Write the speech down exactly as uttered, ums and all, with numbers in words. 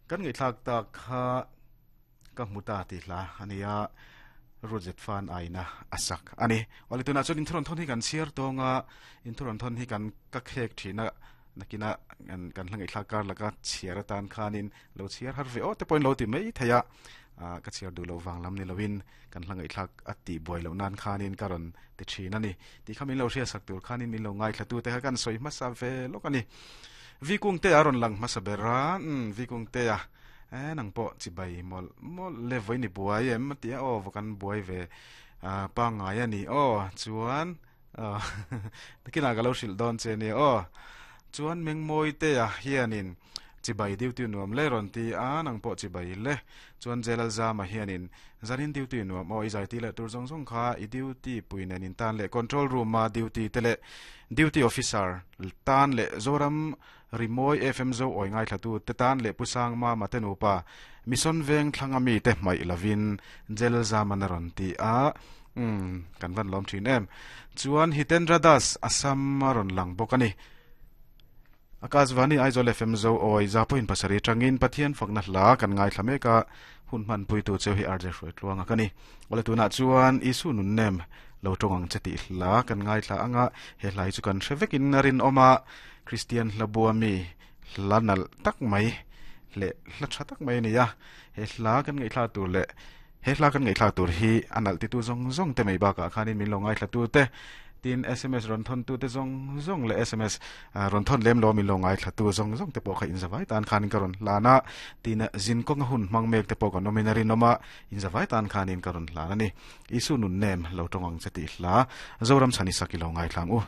Kan ngai thlak ta kha ka muta ti hla ania rojet fan aina asak ani. Wali tuna chuan inthuron thon hi kan chiar tonga inthuron thon hi kan ka khek thina nakina kan kan hlangai thlak kar laka chiar atan khanin lo chiar har ve o te point lo ti mai theya a ka chiar du lo wang lam ni lowin kan hlangai thlak ati boi lo nan khanin karon ti thina ni ti khamin lo hria sak tur khanin min lo ngai thlatu te kan soi ma sa ve lo kani vi kung te aron lang ma sa bera vi kung te a e nang po chi bai mol mol le voi ni buai em ti o vokan buai ve a pa ngai ani o chuan takina ga lo hril don che ni o chuan mengmoi te a hianin chibai duty nuam le ron ti a nang po chibai le chuan jelal zama hianin zanin duty nuam o izai ti le tur zong zong kha i duty puinen in tan le control room ma duty tele duty officer tan le Zoram Rimoi F M zo oi ngai thlatu te tan le pusang ma matenupa mission veng thlangami te mai lavin jelal zama na ron ti a um kan van lom thin em chuan Hitendra Das Assam ron lang bokani Akashvani Aizawl F M zo oi zapoin pasari tangin Pathian fakna hla kan ngai thlame ka hun man pui tu cheu hi R J hroi tluanga kani wala tuna chuan isu nun nem lo tongang cheti hla kan ngai thla anga he hlai chu kan hrevekin rin oma Christian hlabua mi hlanal tak mai le hla tha tak mai ni ya he hla kan ngai thla tur le he hla kan ngai thla tur hi anal ti tu zong zong te mai ba ka khanin min lo ngai thla tu te tin S M S ron thon tu te zong zong le S M S ron thon lem lo min lo ngai thla tu zong zong te po kha in zawai tan khanin karon lana tin zin kong hun mang mek te po ka nominary noma in zawai tan khanin karon lana ni isu nun nem lo tongang cheti hla Zoram chani sakilo ngai thlang u.